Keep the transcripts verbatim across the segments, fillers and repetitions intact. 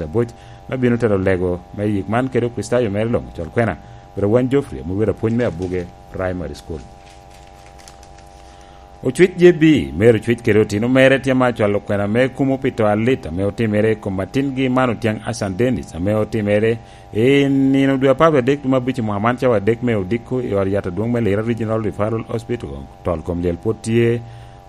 Abuc, me bino tero lego me yik man kede Kricitayo mere luŋ, col kwena, Bro Wan Geoffrey, amwodo apwony me Abuge Primary School. Ocwic J B, mere ocwic kede otino mere tye ma cwalo kwena me kumo pi to alit ame otimere i kom atingi man Otyang Asan Dennis, ame otimere i nino dwe apar adek dwe me abic i mwaka man cawa adek me odiko i ot yat adwoŋ me Lira Regional Referral Hospital. Tol kom lyel pwod tye,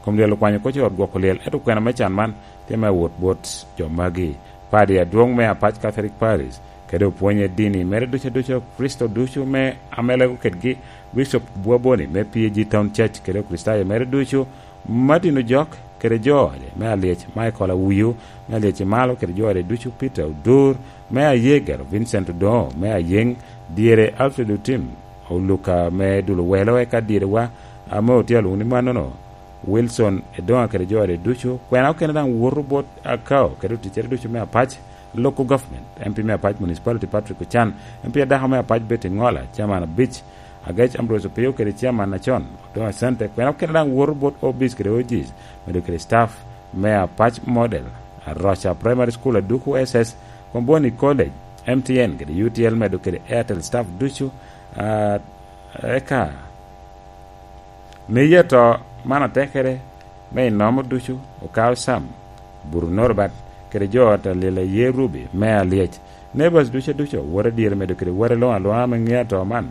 kom lyel okwanyo koc i ot gwoko lyel, ento kwena me can man tye me wot bot jo magi. Padi adwoŋ me Apac Catholic Parish, kede opwonye dini mere ducu aduca, Kricito ducu me ame lego kedgi, Bishop Bwaboni me P A G Town Church kede Okricitayo mere ducu, Martin Ojok kede jo ode me Alyec, Michael Awiyo me Alyec i Malo kede jo ode ducu, Peter Odur me Ayegero, Vincent Odongo me Ayeŋ, dyere Alfred Otim, Oluka me Dul Owelo, eka dyerewa ame otye alwoŋo ni mannono, Wilson Edoŋa kede jo ode ducu, kwena okene daŋ woto bot Akao kede oticcere ducu me Apac, Local Government, M P me Apac Municipality Patrick Ocan, M P adako me Apac Betty Ŋola, Chairman abic, Agec Ambrose Opio kede Chairman acon, Odoŋo Asante, kwena okene daŋ woto bot O Bs kede O Gs, medo kede staff me Apac Model, Aroca Primary School, Aduku S S, Komboni College, M T N kede U T L, medo kede Airtel staff ducu, ah, eka Miye to man atekere me inomo ducu, Okao Sam, Buru Norbert, kede jo ot a Lila Ye Ruby me Alyec. Neighbors ducu aducu, wot adyere medo kede wot alwoŋo alwoŋa me ŋeo to man,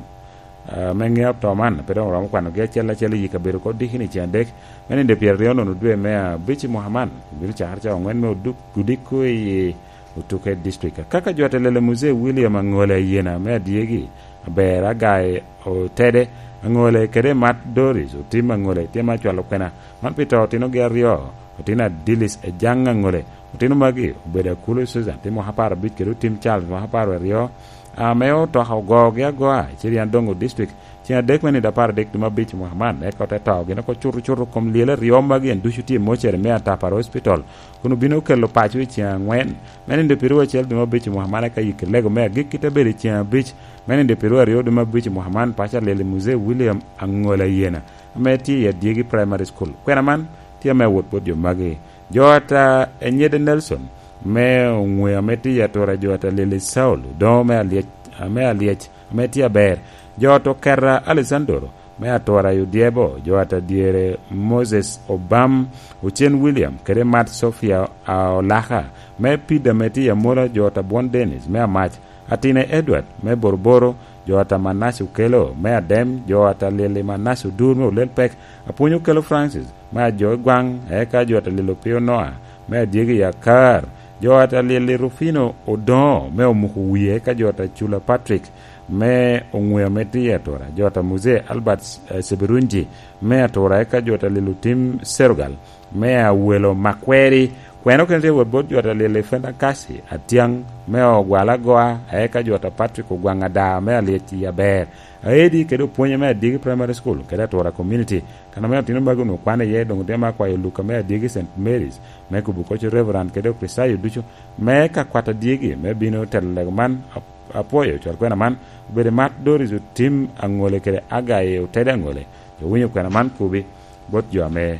ah, me ŋeo to man, pe doŋ oromo kwanogi acel acel i yi kabedo oko dikini ceŋ adek, me nino pyeraryo nono dwe me abic i mwaka man, obino cakere cawa aŋwen me oduk-, odiko i Otuke District. Kaka jo ot a Lila Muzee William Aŋole Ayena me Adyegi, Aber Agai Otede Aŋole kede Mat Doris Otim Aŋole tye ma cwalo kwena man pi to otinogi aryo, otino Adilis Ejaŋ Aŋole. Otino magi obedo Akulu Susan, tye mwaka apar abic kede Otim Charles, mwaka apar aryo, ame otoka ogogi agoa i Cirian Dongo District, ceŋ adek me nino apar adek dwe me abic mwaka man, eka ote to gin oko cuto cuto kom lyel aryo magi en ducu tye i mocere me Atapara Hospital, kun obino kelo paco i ceŋ aŋwen me nino pyeraryo acel dwe me abic mwaka man, eka yik lego me agikki te bedo i ceŋ abic me nino pyeraryo aryo dwe me abic mwaka man, paco a Lila Muzee William Aŋole Ayena, ame tye i Adyegi Primary School. Kwena man tye ame awot bot jo magi. Jo ata Enyede Nelson me Oŋwe ame tye i atura, jo ata Lili Saul Odoŋo me Alyec, ame Alyec, ame tye aber. Jo ata Oketa Alessandro me atura i Odyebo, jo ata dyere Moses Obam, Ocen William, kede Mat Sofia a Olaka me Pida ame tye i Amola, jo ata Bwon Dennis me Amac, Atine Edward me Boroboro, jo ata Manasse Okelo me Adem, jo ata Lili Manasse Odur me Olel Pek, Apwony Okelo Francis me Ajo i Gwaŋ, eka jo ata Lili Opio Noa me Adyegi i Akar, jo ata Lili Rufino Odoŋo me Omuko Wie, eka jo ata Cula Patrick me Oŋwe ame tye i Atura, jo ata Muzee Albert, eh, Sebirunji me Atura, eka jo ata Lili Otim Serugal me Awelo Makweri. Kwena okene tye wot bot jo ata Lili Fenda Kasi Atyaŋ me Ogwal Agoa, eka jo ata Patrick Ogwaŋ Ada me Alyec i Aber, Aedi kede Opwonye me Adyegi Primary School kede Atura Community. Kan ame otino magi onwoŋo kwan iye, doŋ otye me akwayo Luka me Adyegi Saint Mary's me kubo koc Reverend kede Okricitayo ducu me ka kwat adyegi me bino telo lego man. Ap-, apwoyo cwal kwena man, obedo Mat Doris Otim Aŋole kede Agai Otede Aŋole. Jo winyo kwena man kubi bot jo ame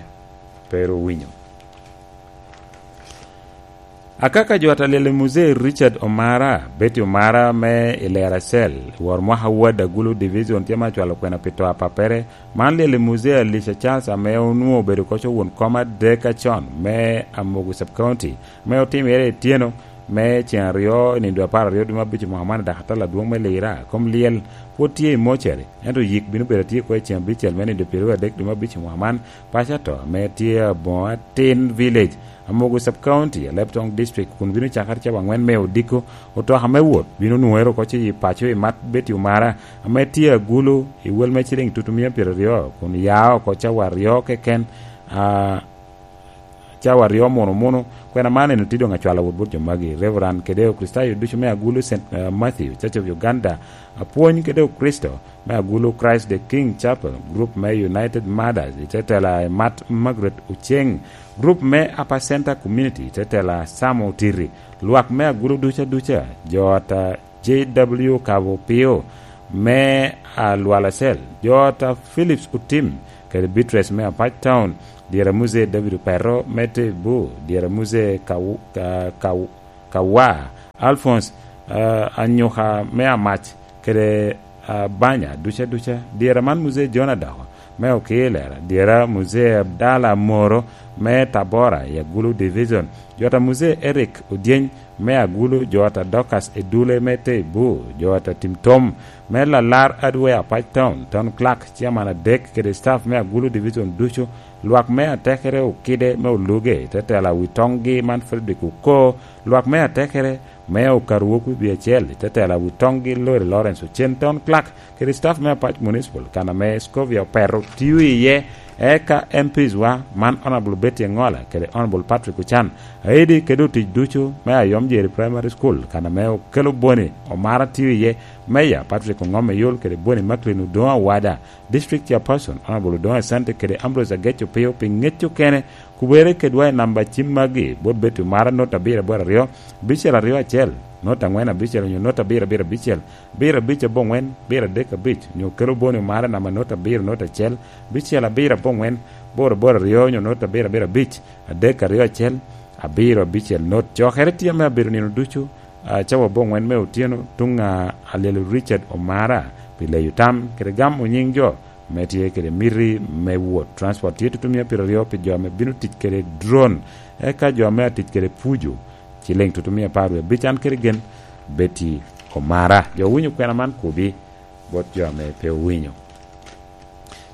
pe ru winyo. Akaka jo ata Lili Muzee Richard Omara, Betty Omara me i Lera Cell, wor mwaka Ward Agulu Division tye ma cwalo kwena pi to apappere. Man Lili Muzee Alicia Charles ame onwoŋo obedo koco won kom adek acon me Amogu Sub County, me otimere i tyeno me ceŋ aryo i nindo apar aryo dwe me abic i mwaka man i dak atala adwoŋ me Lira. Kom lyel pwod tye i mocere, ento yik bino bedo atye kwo i ceŋ abicel me nindo pyeraryo adek dwe me abic i mwaka man. Paco ato ame tye Aboŋo Atin Village, Amogu Sub County, Alebtong District, kun bino cakere cawa aŋwen me odiko. Otoka me wot bino nwoŋere oko i paco i Mat Betty Omara, ame tye Agulu, i wel me ciliŋ tutumia pyeraryo, kun ya oko cawa aryo keken, a, cawa aryo muno muno. Kwena man en otye doŋ acwalo wot bot jo magi, Reverend kede Okricitayo ducu me Agulu Saint, eh, Matthew, Church of Uganda, apwony kede Okricito me Agulu Christ the King Chapel, group me United Mothers, i te tela i Mat Margaret Oceng, group me Upper Center Community, i te tela Sam Otiri, lwak me Agulu ducu aduca, jo ata J W Kabo Pio, me Alwala Cell, jo ata Phillips Otim, kede Beatrice me Apac Town, dyere Muzee David Opero me Tebu, dyere Muzee Kaw-, Ka-, Kaw-, Kawa, Alphonse, eh, Anyuka me Amac, kede, eh, Banya duca duca. Dyera man Muzee John Adoko me Okilera, dyera Muzee Abdala Moro me Tabora i Agulu Division, jo ata Muzee Eric Odyeny me Agulu, jo ata Dorcas Edule me Teibu, jo ata Tim Tom me Lalar Adwe Apac Town, Town Clerk, Chairman adek kede staff me Agulu Division ducu, lwak me atekere Okide me Oluge, tetela wi toŋgi man Frederick Oko, lwak me atekere me Okaru Wok Wibi Acel, tetela wi toŋgi Lori Lawrence Ocen, Town Clerk, kede staff me Apac Municipal, kan ame Scovia Opeto tio iye, eka M Ps wa, man Honourable Betty Engola kede Honourable Patrick Ochan, aidi kede otic ducu me Ayom Jeri Primary School, kan ame Okelo Boni Omara tio iye, Meya Patrick Ongom Eyol kede Boni Macklin Odoŋo Awada, District Chairperson, Honourable Odoŋo Asante kede Ambrose Agec Opio pi ŋec okene, kubere kedwa i namba cim magi, bot Betty Omara, not abiro aboro aryo, abicel aryo acel, not angwen abicel onyo not abiro abiro abicel, abiro abic aboŋwen, abiro adek abic, onyo Okelo Boni Omara namba not abiro not acel, abicel abiro aboŋwen, aboro aboro aryo onyo not abiro abiro abic, adek aryo acel, abiro abicel not. Cokere tye ame abedo nino ducu, ah, cawa aboŋwen me otyeno, tuŋ a Alyelo Richard Omara, pi leyo tam kede gamo nyiŋ jo ame tye kede miti me wot. Transport tye tutumia pyeraryo pi jo ame bino tic kede drone, eka jo ame atic kede puju, ciliŋ tutumia apar wie abic. An kede gen Betty Omara. Jo owinyo kwena man kubi bot jo ame pe owinyo.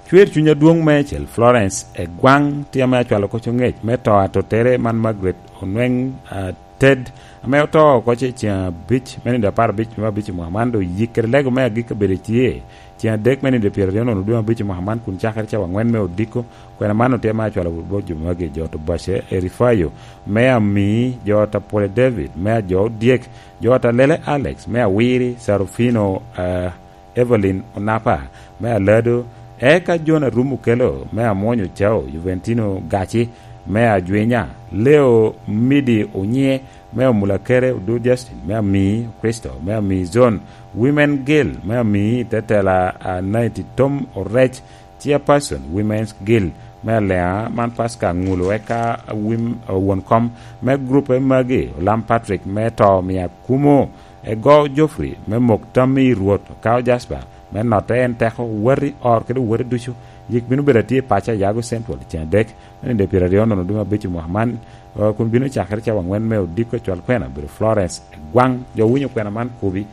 Cwer cuny adwoŋ meicel, Florence Egwaŋ tye ame acwalo koc oŋec me to atottere man Margaret Onweŋ, ah, Ted, ame oto oko ce ceŋ abic me nino apar abic me abic i mwaka man, doŋ yik kede lego me agikki obedo tye ceŋ adek me nino pyeraryo nono dwe abic i mwaka man, kun cakere cawa angwen me odiko. Kwena man otye ame acwalo bot jo magi, jo to Bace Erifayo me Amii, jo ta Pwole David me Ajo Odyek, jo ta Lele Alex me Awiri, Sarufino, ah, Evelyn Onapa me Alado, eka John Arum Okelo me Amwony Ocao, Juventino Gaci me Ajwinya, Leo Midi Onye me Omulakere, Odur Justin me Amii, Kristo me Amii Zone, Women Guild me Amii, tetela, ah, Naiti Tom Orec, Chairperson, Women's Guild me Alea man Pasca Aŋulu, eka wim-, won kom me grup magi, Olam Patrick me To Mia Kumo, Ego Geoffrey me mok tammi i Rwot, Okao Jasper me notte en teko, wati or kede wati ducu. Yik bino bedo atye i paco Ayago Central ceŋ adek me nino pyeraryo nono dwe me abic i mwaka man, eh, kun bino cakere cawa angwen me odiko. Cwal kwena obedo Florence Egwaŋ. Jo owinyo kwena man kubi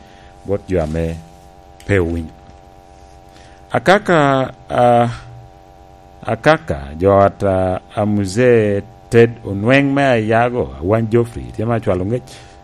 bot jo ame pe owinyo. Akaka, ah, Akaka, jo ot, ah, a Muzee Ted Onweŋ me Ayago, Awany Geoffrey, tye ma acwalo ŋec,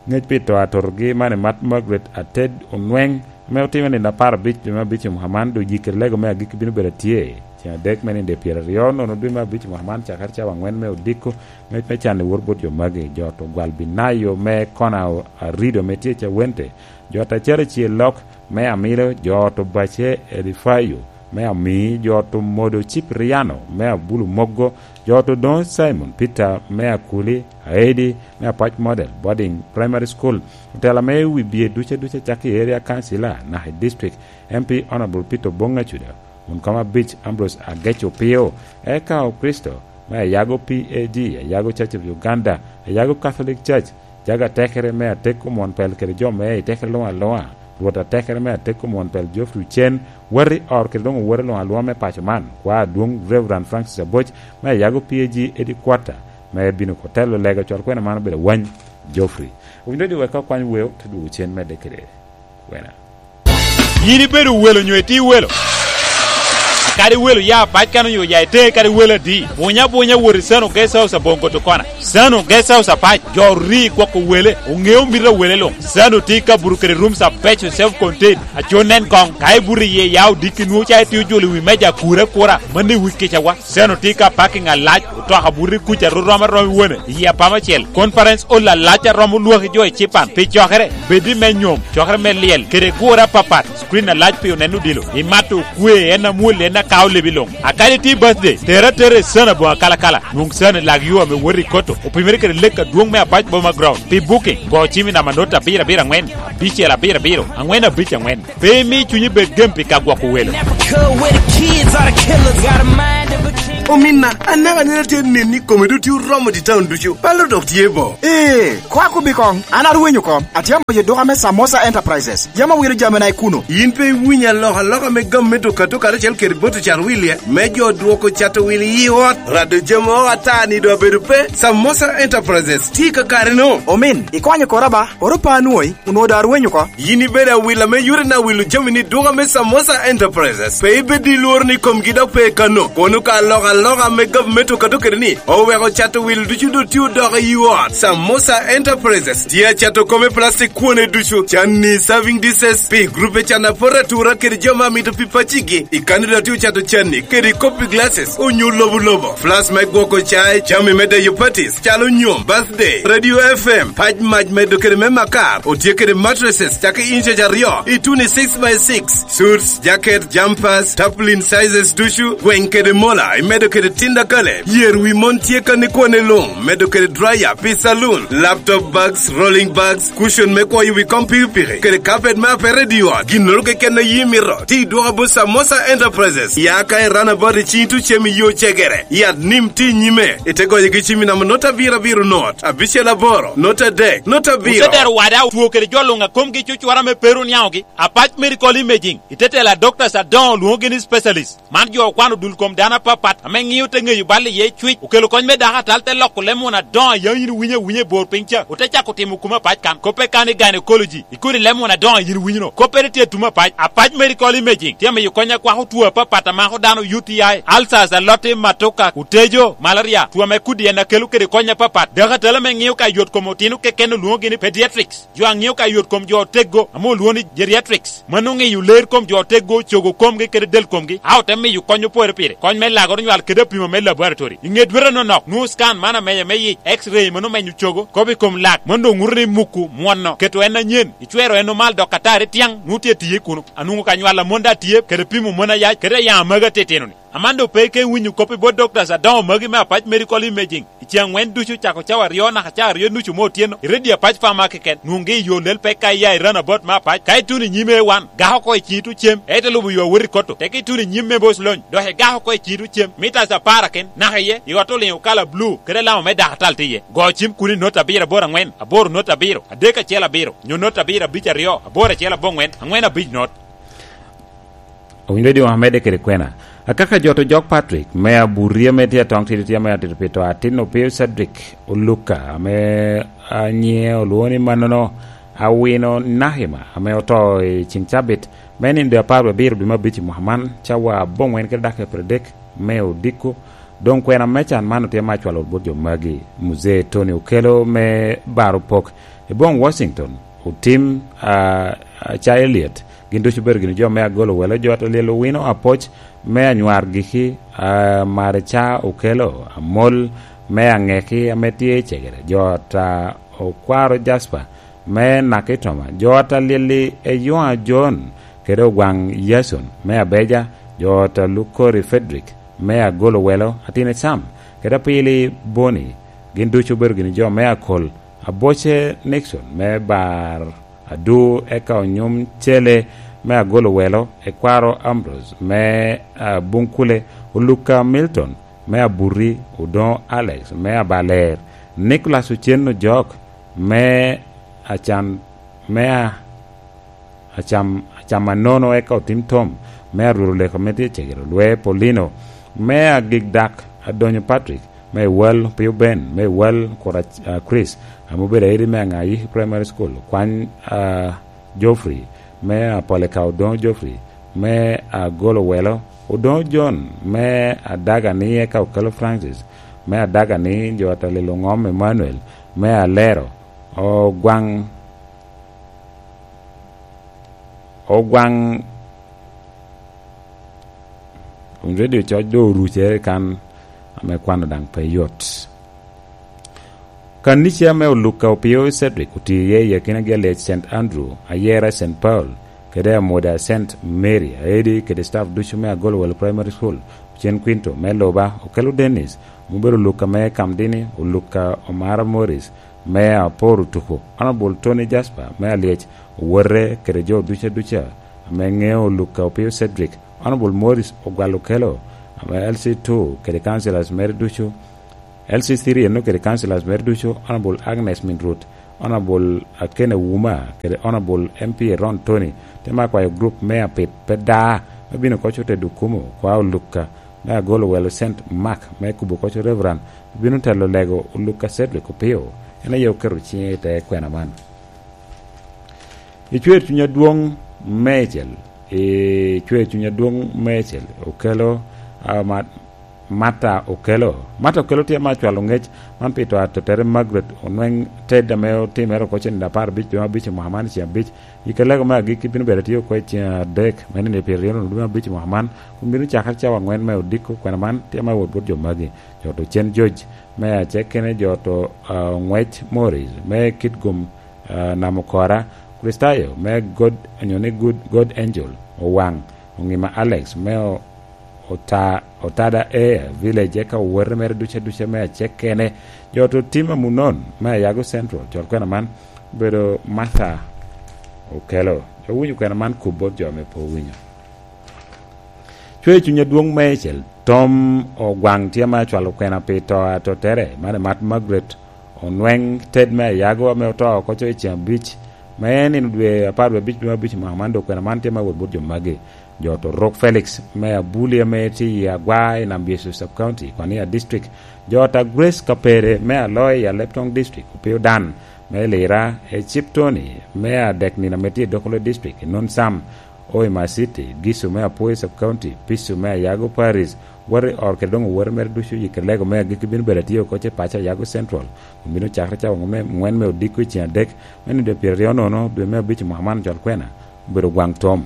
ŋec pi to atotogi man i mat Margaret Ated Onweŋ, ame otime nino apar abic dwe me abic i mwaka man, doŋ yik kede lego me agikki bino bedo atye ceŋ adek me nino pyeraryo nono dwe me abic i mwaka man, cakere cawa angwen me odiko. Ŋec me can i wor bot jo magi, jo ot Ogwal Binayo me Kona Arido ame tye i Cawente, jo ot Acel Acel Lok me Amilo, jo ot Obace Elifayo me Amii, jo ot Omodo Cipriano me Abulu Moggo, jo ot Odoŋo Simon Peter me Akuli, Aedi me Apac Model Boarding Primary School, otela me wi bye duca duca cakki i Area Council naka i District, M P Honourable Peter Obong Acuda, won kom abic Ambrose Agec Opio, eka Okristo me Ayago P A G, Ayago Church of Uganda, Ayago Catholic Church, Jago atekere me atek omwon pel kede jo me i tekere luŋ aluŋa, Rwot atekere me atek omwon pel Geoffrey Ocen, wati or kede doŋ owoti luŋ aluŋa me paco man, kwa adwoŋ Reverend Francis Aboc me Ayago P A G Headquarter, me bino ko telo lega cwal kwena man obedo Awany Geoffrey. Owinyo doŋ wek ka okwany weo, te dwogo cen medde kede kwena. Yin ibedo welo nyo itye welo? Kadi welo ya pac kan onyo ya ite kadi welo adi? Bunya bunya wot i Sano Guest House aboŋo Kotokona. Sano Guest House apac, jo ori gwoko wele, oŋeo mito a wele luŋ. Sano tye i kabuto kede rooms abeco self contained. Aco nen koŋ, ka ibuto iye ya odiki nwoŋo ca itye ojolo i wi meja akura akura, mano i wi kicawa. Sano tye ka parking alac, otoka buto i kuca ru rom arom i wone, i apama acel. Conference hall alac a romo lwaki jo i Cipan. Pi cokere, bed i me nyom, cokere me lyel, kede gure apapat, screen alac pi onen odilo. Imato okwe, en amwol, en akao lebi luŋ. A kadi tye birthday, tere atera i Sano aboŋo akalakala. Nwoŋ Sano i lak yo ame wot i Koto, opimere kede lek adwoŋ me Apac Boma Ground. Pi booking, go cim i namba not abiro abiro angwen, abicel abiro abiro, angwen abic angwen. Pe imi cunyi bed gem pi ka gwoko welo. Never cool with the kids or the killers. Got a mind of a king. Ominna, anaka nene atye nen ni kome doŋ tye oromo i taun ducu. Palo dok tye bo. Ee, koa kobbi koŋ, an arwenyo oko. Atye amoko i duka me Samosa Enterprises. Yam awilo jamina i kuno. Yin pe iwinyo alokaloka me gam me duka to karacel kede bot ocat wilye, me jo dwoko cato wil i ot? Rado jami oko ata ni doŋ abedo pe. Samosa Enterprises tye i kakare-no. Omin, ikonyo kora ba, oro pa anwoŋi, onwoŋo doŋ arwenyo oko. Yin ibedo awila me yore na wilo jami ni duka me Samosa Enterprises. Pe ibed i lworo ni komgi dok pe kano. Kono ka alokaloka me gavumenti okato kede ni, oweko cato wil ducu doŋ tye odoko i ot. Samosa Enterprises tye acato kome plastic kwone ducu, canni serving dishes, pi grupe can apor atura kede jo ma mito pi pacigi. I kani doŋ tye ocato canni kede kopi glasses, onyo lobo lobo, flas me gwoko cai, jami me deyo parties, calo nyom, birthday, radio F M, pac mac medo kede me makar, otye kede mattresses, cakki inch aryo, i tuni six by six, suits, jacket, jumpers, tarpaulin sizes ducu, gweng kede mola, imedo kede tinda kale, yer wi mon tye kan i kwone luŋ, medo kede dryer, pi saloon, laptop bags, rolling bags, cushion me kwoyo wi kom pikipiki, kede carpet me apete i ot, ginnoro keken a yi mito, ti dwoka bot Samosa Enterprises, ya ka i runabout i cing tucem i yo cegere, yat nim ti nyime, ite goyo gi cim i namba not abiro abiro not, abicel aboro, not adek, not abiro. Ote dero wada otwo kede jo luŋ a komgi cucwara me peru niaŋogi, Apac Medical Imaging, ite tela doctors adoŋo lwoŋogi ni specialist. Man jo okwano dul kom dano apapat ame ŋio te ŋeyo bal iye cwic, okelo kony me dako atal te loko leb won adoŋo a yam yin iwinyo awinya i bor piny ca, ote cako timo kumo apac kan. Koppe kan i gynecology, ikodi leb won adoŋo a yin iwinyo-no. Koppere tye tumo apac. Apac Medical Imaging tye amiyo kony akwako two apapat a mako dano, U T I, ulcers, aloti, matoka, otejo, malaria, two ame kudi en a kelo kede kony apapat. Dako atal ame ŋio ka yot kom otino keken olwoŋogi ni pediatrics. Jo a ŋeo ka yot kom jo oteggo ame olwoŋo ni geriatrics, mano ŋeyo ler kom jo oteggo, cogo komgi kede del komgi, a ote miyo kony opore pire, kony me lagoro nywal kede apimo me laboratory. I ŋe dwete anonok, nwoŋo scan man amenya me yic, X-ray mano menyo cogo, kop i kom lak, mano doŋ ŋuto ni muku mwono, keto en anyen, icwero en omal dok atari tyaŋ, nwoŋo tye tiye kuno. Anwoŋo ka nywal amon daŋ tye, kede pimo mon ayac, kede ayaŋ amagi atitino-ni. Aman doŋ pe ike winyo kop i bot doctors adoŋo magi me Apac Medical Imaging. I ceŋ aŋwen ducu cako cawa aryo naka cawa aryo nucu me otyeno, i redio Apac Farmer keken, nwoŋgi i yo lel pek ka iya i runabout me Apac, ka ituno i nyim A one, gak oko i ciŋi tucem, ite lubo yo awot i Kotto, teke ituno i nyim me Boc Lony, dok igak oko i ciŋi tucem, mitas apar aken, naka iye, i ot oliŋo kala blue, kede alama me dako atal tye iye. Go cim kun i not abiro aboro aŋwen, aboro not abiro, adek acel abiro, nyo not abiro abic aryo, aboro acel aboŋwen, aŋwen abic not. Owinyo redio amedde kede kwena. Akaka jo to jok Patrick, me Aburia me tye atong tidi tye me atito pito atin opio Cedric Oluka, ame anyiŋe olwoŋo ni mannono Awino Nahima, ame oto i ceŋ cabit, me nindo apar wie abiro dwe me abic i mwaka man, cawa aboŋwen kede dakika pyeradek me odiko. Doŋ kwena me can man otye me acwalo bot jo magi, Muzee Tony Okello me Baro Pok, i boŋ Washington, otim, a, a, ca Elliot, gin ducu obedo gini jo me agolo welo, jo ata lyel owino apoc me anywar giki, a, Marica Okello, Amol me Angeki ame tye i Cegere, jo ata Okwaro Jasper me Nakitoma, jo ata lyel-li Eywa John, kede Ogwaŋ Yason me Abeja, jo ata Lukori Frederick me agolo welo, Atine Sam, kede Apili Boni, gin ducu obedo gini jo me Akol, Aboce Nixon me Bar Adu, eka Onyum Cele me agolo welo, Ekwaro Ambrose me, a, Bunkule, Oluka Milton me Abuti, Odoŋo Alex me Abaler, Nicholas Ocen Ojok me Acan, me a, Acam, Acam Anono, eka Otim Tom me Arwero Leko ame tye Cegere, Olwe Paulino me Agik Dak, Adonyo Patrick me Ewal, Opio Ben me Ewal, Kura, a, Chris ame obedo aidi me Aŋayiki Primary School, Kwany, a, Geoffrey me Apoleka, Odoŋo Geoffrey me Agolo Welo, Odoŋo John me Adagani, eka Okello Francis me Adagani, jo ata lyel Oŋom Emmanuel me Alero, Ogwaŋ, Ogwaŋ, Wun redio coc doŋ orucere kan, ame kwano daŋ pe yot. Kanica me Oluka Opio Cedric otio iye i akinagi alec Saint Andrew, Ayera Saint Paul, kede Amoda Saint Mary, Aedi kede staff ducu me Agolowelo Primary School, Ocen Quinto me Luba, Okello Dennis, ame obedo Oluka me Kamdini, Oluka Omara Morris, me Apor Otuko, Honourable Tony Jasper me Alyec, owote kede jo ducu aduca ame ŋeo Oluka Opio Cedric, Honourable Morris Ogwal Okello, me L C two kede councillors mere ducu, L C three eno kede councillors mere ducu, Honorable Agnes Minrut, Honorable Akena Wuma, kede Honorable M P Ron Tony, te ma kwayo group me Apit pe da, me bino koco te Dukumo, kwa Olukka, me agolo welo Saint Mark, me kubo koco Reverend, bino telo lego Olukka Cedric Opio, en aye oketo cinge i te kwena man. I cwer cuny adwoŋ meicel, i cwer cuny adwoŋ meicel, okelo, ah, ma-, Martha Okello. Martha Okello tye ma acwalo ŋec man pi to atotere Margaret Onweng Ted ame otimere oko cen apar abic dwe abic i mwaka man ceng abic. I kalego me agikki bino bedo atye oko i ceng adek me nino pyeraryo dwe abic i mwaka man, kun bino cakere cawa angwen me odiko. Kwena man tye ma wot bot jo magi. Jo to cen George me acekene, jo to, ah, Ŋwec Morris me Kitgum, ah, Namukora, Kristayo me God, onyo ni Good, God Angel, Owaŋ, Oŋima Alex me o-, Ota-, Otada Air Village, eka owote mere duca duca me acekkene. Jo to tim Amunon me Ayago Central, col kwena man obedo Martha Okello. Owinyo kwena man kub bot jo ame pe owinyo. Cwer cuny adwoŋ meicel, Tom Ogwaŋ tye ma acwalo kwena pi to atotere, man emat Margaret Onweng Ted me Ayago ame oto oko co i ceng abic, ma en nino dwe apar dwe abic dwe abic i mwaka man, dok kwena man tye ma wot bot jo magi. Jo to Rok Felix me Abuli ame tye i Agwa i Nam Biecu Sub County, Kwania District. Jo ta Grace Kapere me Aloy i Aleptong District, Opio Dan me Lira, Ecip Tony me Adek nino ame tye i Dokolo District, Nun Sam, Hoima City, Gisu me Apwoyo Sub County, Pisu me Ayago Paris, wot i ot kede doŋ owote mere ducu i Kelego me agikki bino bedo atye oko ce paco Ayago Central, kun bino cakere cawa ŋwen me odiko i ceng adek me nino pyeraryo nono dwe me abic i mwaka man col kwena, obedo gwaŋ tom.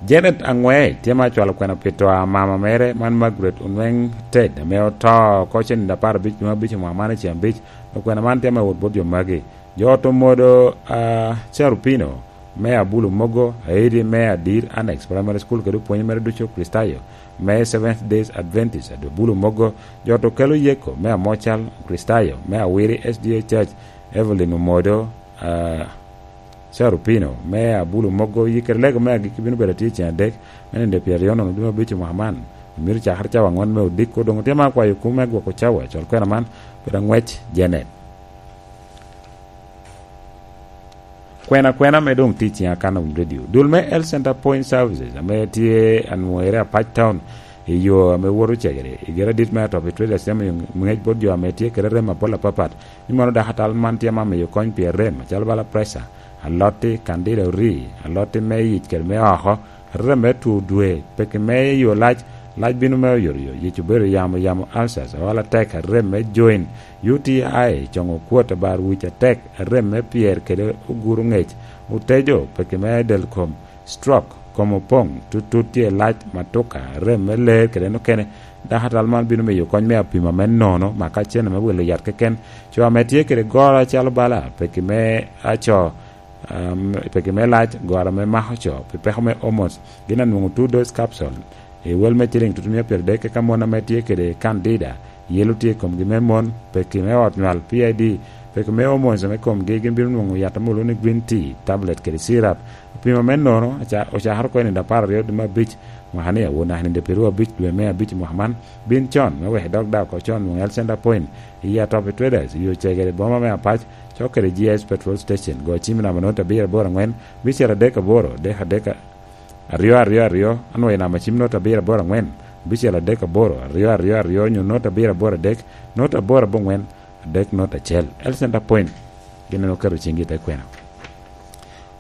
Janet Aŋwec tye ma acwalo kwena pi to a mama mere man Margaret Onweng Ted, ame oto oko cen nino apar abic dwe abic i mwaka man i ceng abic, dok kwena man tye ma wot bot jo magi. Jo to modo, ah, Carupino me Abulu Mogo, Aidi me Adir Annex Primary School kede opwonye mere ducu Kristayo me Seventh Days Adventist Abulu Mogo, jo to kelo Yeko me Amocal Kristayo me Awiri S D A Church, Evelyn Omodo, ah, Carupino me Abulu Mogo, yikere lego me agikki bino bedo atye i ceng adek me nino pyeraryo nono dwe abic i mwaka man. Myero cakere cawa aŋwen me odiko, doŋ otye ma akwayo kum me gwoko cawa, col kwena man, bedo aŋwec Janet. Kwena kwena ame doŋ tye i ciŋa kan awinyo redio. Dul me Health Center Point Services ame tye anwoŋere Apac Town i yo ame woto Cegere, i gira dit me Atobi Traders tye miyo ŋec bot jo ame tye kede rem apol apapat, ni mono dako atal man tye ma miyo kony pi arem, acalo bala preca, alotti, kandida ori, alotti me yic kede me oko, rem me two dwe, peki me yo lac, lac bino me oyotoyot, yic obedo yamo, yamo ulcers, ool atek, rem me joint, U T I, coŋo kwot, abar wic atek, rem me pyer kede oguro ŋec, otejo, peki me del kom, stroke, kom opoŋ, tutut tye lac, matuka, rem me ler kede en okene. Dako atal man bino miyo kony me apima me nono, maka cene me wilo yat keken. Co ame tye kede goro acalo bala, peki me aco, um, peki me lac, goro ame mako co, pi peko me hormones, gin anwoŋo two dose capsule i wel me ciling tutumia pyeradek, eka mon ame tye kede candida, yelo tye i komgi me mon, peki me ot nywal, P I D, peki me hormones me komgi, gin bino nwoŋo yat ame olwoŋo ni green tea, tablet kede syrup. Opima me nono, aca-, ocakere oko i nino apar aryo dwe me abic, mwaka ni awor naka i nino pyeraryo abic dwe me abic mwaka man, bin con, me wek idok daŋ oko con, nwoŋo Health Center Point, i Atobi Traders, i yo Cegere, boma me Apac, cok kede G I S Petrol Station, go cim i namba note abiro aboro aŋwen, bicel adek aboro, dek adek, aryo aryo aryo, anwoŋo i namba cim note abiro aboro aŋwen, bicel adek aboro, aryo aryo aryo, nyo note abiro aboro adek, note aboro aboŋwen, adek note acel. Health Center Point, gin en oketo ciŋgi i te kwena.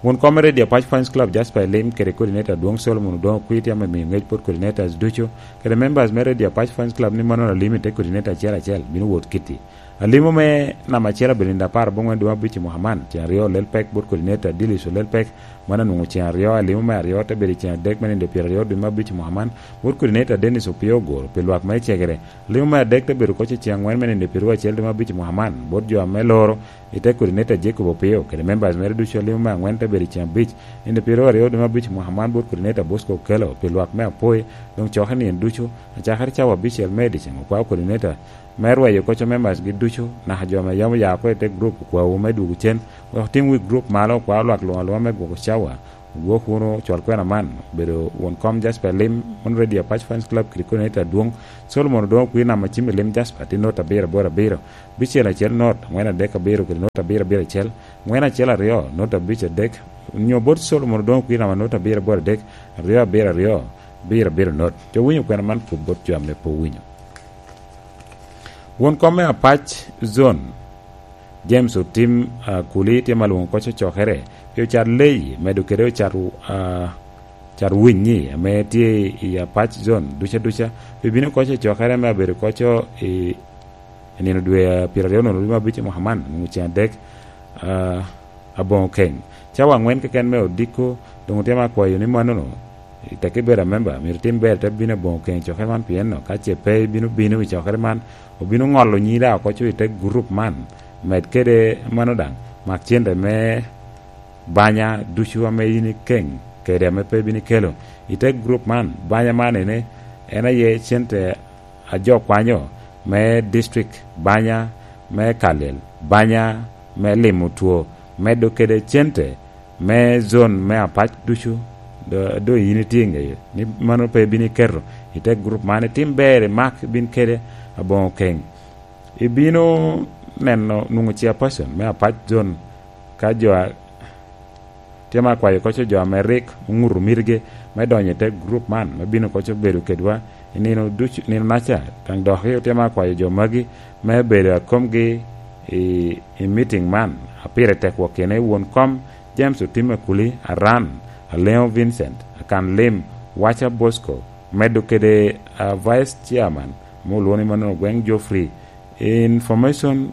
Won kom me Radio Apac Fans Club, Jasper Elim, kede coordinator Adwoŋ Solomon Odwoŋ Okwiti, ame miyo ŋec bot coordinators ducu, kede members me Radio Apac Fans Club ni mano alim i te coordinator acel acel, bino wot kitti. Alimo me namba acel abedo nino apar aboŋwen dwe abic i mwaka man, ceŋ aryo olel pek bot coordinator Dilis olel pek, mano anwoŋo ceŋ aryo, alimo me aryo te bedo i ceŋ adek me nino pyeraryo dwe me abic i mwaka man, bot coordinator Dennis Opio Ogoro, pi lwak me Cegere. Alimo me adek te bedo koc i ceŋ aŋwen me nino pyeraryo acel dwe me abic i mwaka man, bot jo ame loro, i te coordinator Jacob Opio, kede members mere ducu. Alimo me aŋwen te bedo i ceŋ abic, nino pyeraryo aryo dwe me abic i mwaka man, bot coordinator Bosco Okello, pi lwak me Apoi, doŋ coke nino ducu, acakere cawa abicel me ediceŋ, okwao coordinator me rweyo koc a members gi ducu, naka jo ame yam oya oko i te group, okwawu me dwogo cen, wek otim wi group malo, okwa lwak luŋ aluŋa me gwoko cawa, Gwok wunu cwal kwena man, obedo won kom Jasper Lim, mon Radio Apac Fans Club, kede coordinator adwoŋ, Solomon Odongo Kwir, namba cim i Lim Jasper, tye not abiro aboro abiro, bicel acel not, angwen adek abiro, kede not abiro abiro acel, angwen acel aryo, not abic adek, nyo bot Solomon Odongo Kwir, namba not abiro aboro adek, aryo abiro aryo, abiro abiro not. Jo winyo kwena man kub bot jo ame pe owinyo. Won kom me Apac Zone, James Otim, ah, Kuli, tye ma lwoŋo koc ocokere pi ocat leyi, medo kede ocat, ah, ocat winyi ame tye i Apac Zone duca duca, pi bino koc ocokere me abedo koco i, i nino dwe, ah, pyeraryo nono lwem abic i mwaka man, nwoŋo ceŋ adek, ah, aboŋo keny. Cawa angwen keken me odiko, doŋ otema akwayo ni mannono, i teke ibedo amemba, myero itim ber te bino aboŋo keny cokere man, pien no, ka ce pe ibino bino i cokere man, obino ŋolo nyi daŋ oko co i te gurup man, med kede mano daŋ, mak cente me banya ducu ame in ikeŋ kede ame pe ibino ikelo i te gurup man. Banya man ene, en aye cente a jo kwanyo me district, banya me Kalel, banya me limo two, medo kede cente me zone me Apac ducu, do, do yin itye i ŋeye ni mano pe ibino iketo i te gurup man, itim ber, imak, ibin kede aboŋo keny. Ibino neno nwoŋo chairperson me Apac Zone ka jo a, tye ma akwayo koco jo ame rik oŋuto mitgi me donyo i te gurup man, me bino koco bedo kedwa i nino ducu, nino naca. Daŋ dok otye ma akwayo jo magi me bedo a komgi i, i meeting man, a pire tek wok kene won kom James Otim Akuli, Aran, Aleŋo Vincent, Akan Lim, Waca Bosco, medo kede, ah, Vice Chairman, ame olwoŋo ni mannono Ogweng Geoffrey, Information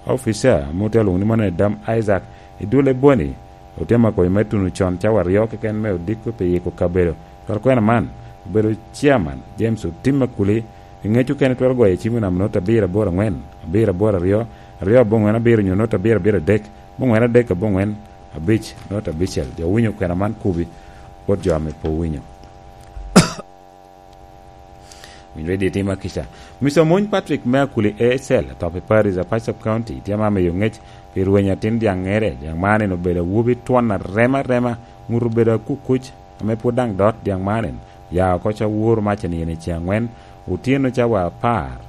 Officer, ame otye alwoŋo ni mannono Dam Isaac, i dul Eboni, otye ma koyo me tuno con cawa aryo keken me odiko pi yiko kabedo. Cwal kwena man, obedo Chairman, James Otim Akuli, i ŋec okene twero goyo cim i namba not abiro aboro angwen, abiro aboro aryo, aryo aboŋwen abiro nyo not abiro abiro adek, aboŋwen adek aboŋwen abic, not abicel. Jo winyo kwena man kubi, bot jo ame pe owinyo. Winy ready tima kica. Mister Omony Patrick me Akuli A S L, atop i Paris, Apac Sub County, tye ma miyo ŋec pi rweny atin dyaŋŋere. Dyaŋ man en obedo awobi twon arema arema, ŋut obedo akukuc, ame pwod daŋ dot. Dyaŋ man en ya oko ca woro mac en i ceŋ angwen, otyeno cawa apar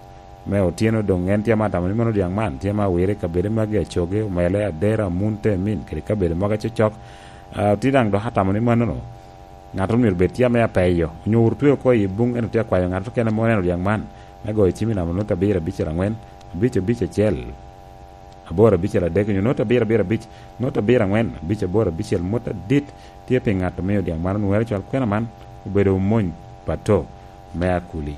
me otyeno. Doŋ en tye ma atamo ni mano dyaŋ man tye ma awire i kabedo magi, Acoge, Omele, Adera, Amun, Temin, kede kabedo mogo acocok. Ah, tye daŋ dok atamo ni mannono ŋat myero bed tye ame apeyo, onyo wot otweo oko i buŋ, en otye akwayo ŋat okene ame oneno dyaŋ man, me goyo cim i namba not abiro abicel angwen, abic abic acel, aboro abicel adek, onyo not abiro abiro abic, not abiro angwen, abic aboro abicel, mot adit tye pi ŋat omiyo dyaŋ man onwere cwal kwena man. Obedo Omony Pato me Akuli.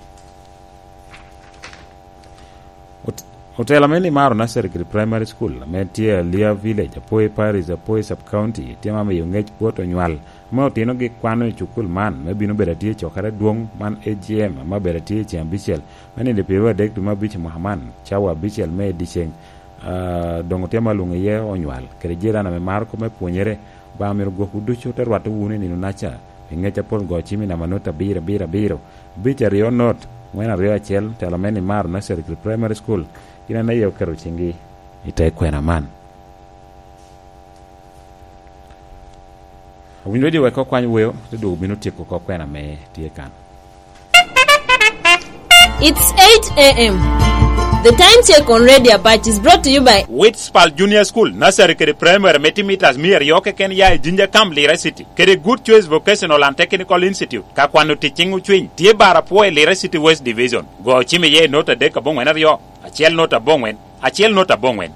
Ot-, otela me Nimaro Nursery kede Primary School, ame tye i Alia Village, Apoi Parish, Apoi Sub-County, tye ma miyo ŋec bot onywal ame otinogi kwano i cukul man, me bino bedo atye i cokere adwoŋ man, A G M, ame obedo atye i ceŋ abicel, me nino pyeraryo adek dwe me abic i mwaka man, cawa abicel me i dyeceŋ. Ah, doŋ otye ma lwoŋo iye onywal, kede jirani ame maro kop me pwonyere. Obaŋa myero gwokwu ducu te rwatte wunu i nino naca, pi ŋec apol goyo cim i namba not abiro abiro abiro, abic aryo not, ŋwen aryo acel, tela me Nimaro Nursery kede Primary School, gin en aye oketo ciŋgi i te kwena man. Owinyo ready wek okwany weo, te dwogo bino tyeko oko kwena me tye kan. It's eight a m. The time check on Radio Apache is brought to you by Witspal Junior School, Nursery kede Primary, me tye mitas mia aryo keken ya i Jinja Camp, Lira City, kede Good Choice Vocational and Technical Institute, ka kwano tic ciŋ ocwiny, tye bar apwo i Lira City West Division. Go cim iye i not adek aboŋwen aryo, acel not aboŋwen, acel not aboŋwen.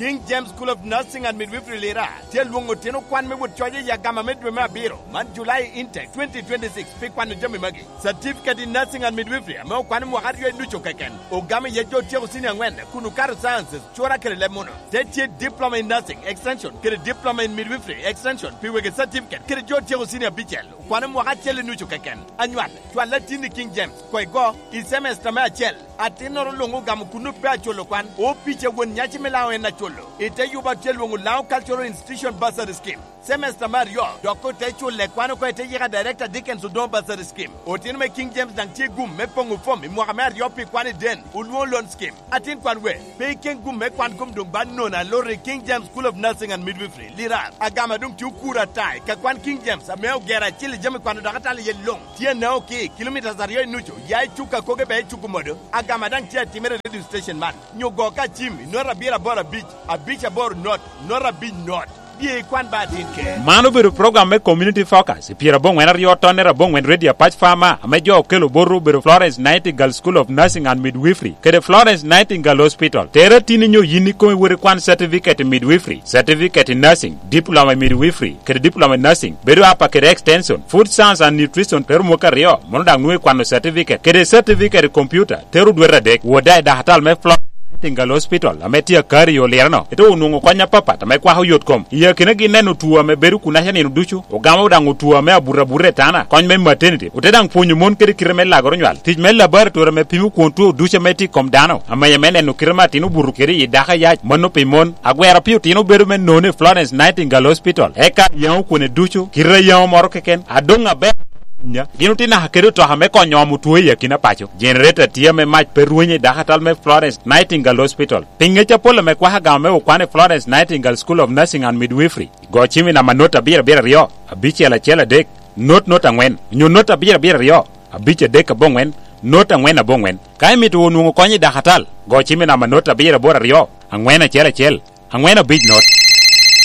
King James School of Nursing and Midwifery Lira tye alwoŋo otino kwan me wot coc i agama me dwe me abiro, man July Intake twenty twenty-six, pi kwano jami magi: Certificate in Nursing and Midwifery, ame okwano mwaka aryo i ducu keken, ogamo iye jo otyeko senior angwen kun okato sciences, cura kede leb muno. Te tye Diploma in Nursing Extension kede Diploma in Midwifery Extension pi wegi certificate kede jo otyeko senior abicel, okwano mwaka acel i nucu keken. Anywal, cwal latin i King James, koi go, i semester me acel. Atinnoro luŋ ogamo kun ope aculo kwan, opic a won nyaci me Laŋo en aculo. I te yuba tye lwoŋo Laŋo Cultural Institution Bursary Scheme. Semester me aryo, dok ote culle kwan oko i te yika Director Dickens Odongo Bursary Scheme. Otino me King James daŋ tye gum me poŋo fom i mwaka me aryo pi kwan i den, olwoŋo loan scheme. Atin kwan we, pe iken gum me kwan kom doŋ ba nono aloro i King James School of Nursing and Midwifery, Lirar. Agama doŋ tye okuro ata i ka kwan King James ame ogero acil i jami kwano dakatal iye luŋ. Tye anao ki kilomitas aryo i nucu, ya i cuk akoge be i cuk omodo. Agama daŋ tye atimere i radio station man. Nyo go ka cim i not abiro aboro abic, abic aboro not, not abic not. Bye ikwan ba atin ke. Man obedo program me Community Focus i pyerabongwen aryo tonne rabongwen Radio Apac Farmer, ame jo okelo botwu obedo Florence Nightingale School of Nursing and Midwifery kede Florence Nightingale Hospital. Tere tin inyo yin ikome wot ikwan certificate i midwifery, certificate i nursing, diploma i midwifery, kede diploma i nursing, bedo apa kede extension, food science and nutrition, te rumo ka aryo, mono daŋ nwoŋo ikwano certificate, kede certificate i computer, tero dwete adek. Wot daŋ i dakatal me Florence Nightingale Hospital, ame tye akari i Olireno, ite onwoŋo kony apapat ame kwako yot kom. I akinagi neno two ame bedo kunaca nino ducu, ogamo daŋ two ame abuto abuta i tana, kony me maternity, ote daŋ pwonyo mon kede kite me lagoro nywal, tic me laboratory ame pimo kwon two ducu ame tye i kom dano, amenya me neno kite me atin obuto kede i dako ayac, mano pi mon. Agwero pi otino bedo me none i Florence Nightingale Hospital, eka yaŋo kwone ducu, kite a yaŋo moro keken, adoŋ aber nya. Gin otye naka kede otoka me konyo omo two i akina paco. Generator tye ame mac pe rwenyo i dakatal me Florence Nightingale Hospital. Pi ŋec apol ame kwako agama me okwan i Florence Nightingale School of Nursing and Midwifery, go cim i namba not abiro abiro aryo, abicel acel adek, not not angwen, onyo not abiro abiro aryo, abic adek aboŋwen, not angwen aboŋwen. Ka imito wot nwoŋo kony i dakatal, go cim i namba not abiro aboro aryo, angwen acel acel, angwen abic not.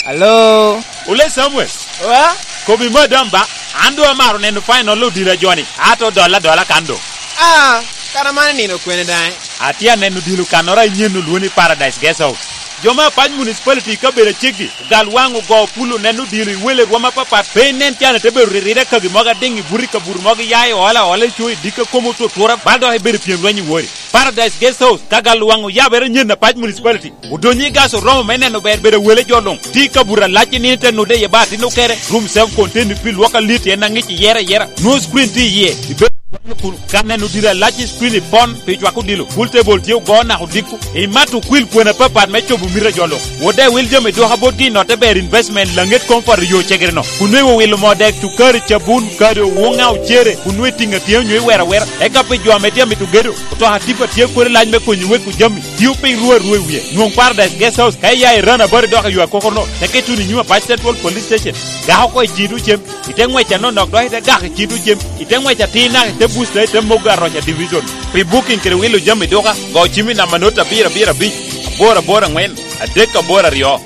Alo? Ole Samuel. Wa? Kobi madam ba, an doŋ amaro neno final odila joni, ato dolla dolla kan doŋ. Ah, kara man nino kwene daŋ? Atye aneno odilo kannoro anyen olwoŋo ni Paradise Guest House. Jo me Apac Municipality i kabedo aceggi, ogal waŋ ogo pul oneno odilo i wele rwom apapat, pe inen can ite bedo riride kagi mogo adiŋ i buto i kabuto mogo iya i ola ola i co i dikka komo otutura, bal dok ibedo pyem lweny i wori. Paradise Guest House, ka gal waŋ oyabere anyen Apac Municipality. Odonyo i gas oromo me neno ber bedo wele jo luŋ. Tye i kabuto alac i nino ite nude iye ba atin okere. Room self contained pi lwok alit en aŋic iyere ayera. Nwoŋo screen tye iye. Ibedo kwano kun ka neno diro alac i screen i pon pi cwako odilo. Pool table tye ogo naka odiko. Imato kwil kwena apapat me cobo mito a jo luŋ. Wode wil jami dwoka botgi i notte ber investment Laŋet Comfort yo cegere no. Kun nwe wilo moo dek, cukari, cabun, kado, wuŋa, ocere. Kun nwe tiŋa tye onyo iwero awera. Eka pi jo ame tye amito gedo. Otoka tipa tye kodi lac me konyo weko jami. Tio piny rwe arwe wie. Nwoŋ Paradise Guest House ka iya i Rana Bari dok i yo akoko no. Teke tuno i nyim Apac Central Police Station. Gako oko i cito cem. Ite ngwec anonok dok ite gako i cito cem. Ite ngwec atir naka ite busta ite mogo aroca division. Pi booking kede wilo jami duka, go cim i namba not abiro abiro abic, aboro aboro angwen, adek aboro aryo.